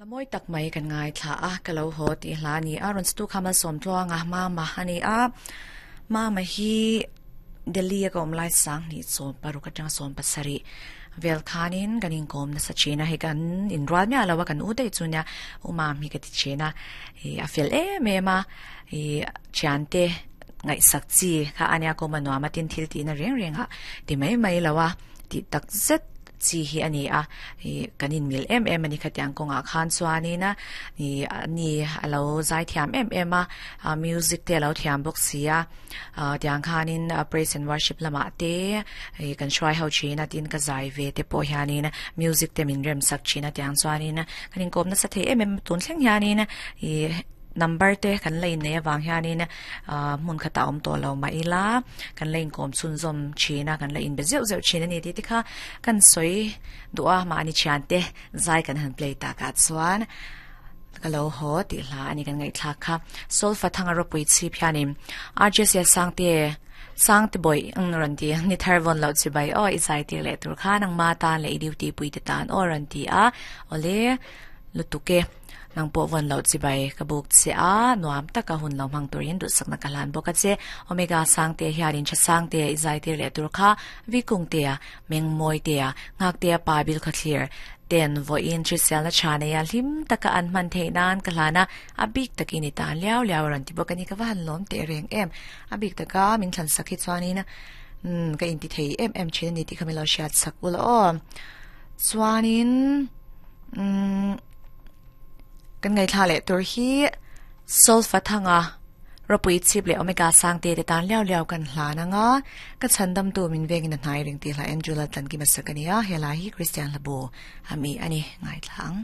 La mawi tak mai kan ngaithla a, ka lo haw tih hla a ni a, rawn stu kha malsawm tluang a, mama a ni a, mama hi Delhi a ka awm lai sang hnih sawm paruk atanga sawm pasarih vel khanin kan inkawm nasa thin a, hei kan inrual miah lo a, kan u daih chu nia u mam hi ka ti thin a, ih a fel em em a, ih thiante ngaihsak chi kha a nia kawm a nuam a, tin thil tihna reng reng ah ti mai mai lo a, tih tak zet. chi hi a ni a, ih kan inmil em em a ni khatiang kawngah khan chuanin a ih ani a lo zai thiam em em a, ah music te a lo thiam bawk si a, ah tiang khanin praise and worship lamah te ih kan hruai ho thin a tin ka zai ve te pawh hianin music te min rem sak thin a tiang chuanin kan inkawm nasa thei em em tun thleng hianin ih number te kan la inneih avang hianin ah hmun khatah awm tawh lo mah ila kan la inkawm chhunzawm thin a kan la inbe zeuh zeuh thin a ni tih te kha kan sawi duh a mahni thiante zai kan han play takah chuan ka lo haw tih hla a ni kan ngaihthlak kha solfa thanga ropui chhip hianin RJC Sangte Sangte bawih ang rawn ti ni thar vawn loh chi bai aw i zai tir leh tur khan ang ma tan leh i duty pui te tan aw rawn ti a awle lutuk e. Nang pawh vawn loh chibai ka buk che a, nuam taka hun lo hmang turin duhsakna ka hlan bawk a che. Omega Sangte hianin tha Sangte i zai tir leh tur kha Vikungtea, Mengmawitea, Nghaktea pa bil khawthlir ten vawiin hriselna tha neia hlim taka an hman theih nan ka hlan a, a bik takin i tan liau liau a rawn ti bawk a ni. Ka va han lawm teh reng em. A bik taka min thlan sak hi chuanin ka inti thei em em thin a ni tih kha min lo hriat sak ula aw. Chuanin. Umm kan ngaithla leh tur hi Solfa thanga ropui chhip leh Omega Sangte te tan liau liau kan hlan anga ka chhandamtu min vengin a hnai reng tih hla Andrew Laltlankima sak a ni a, he lai hi Kristian hlabu a mi a ni ngaithla ang.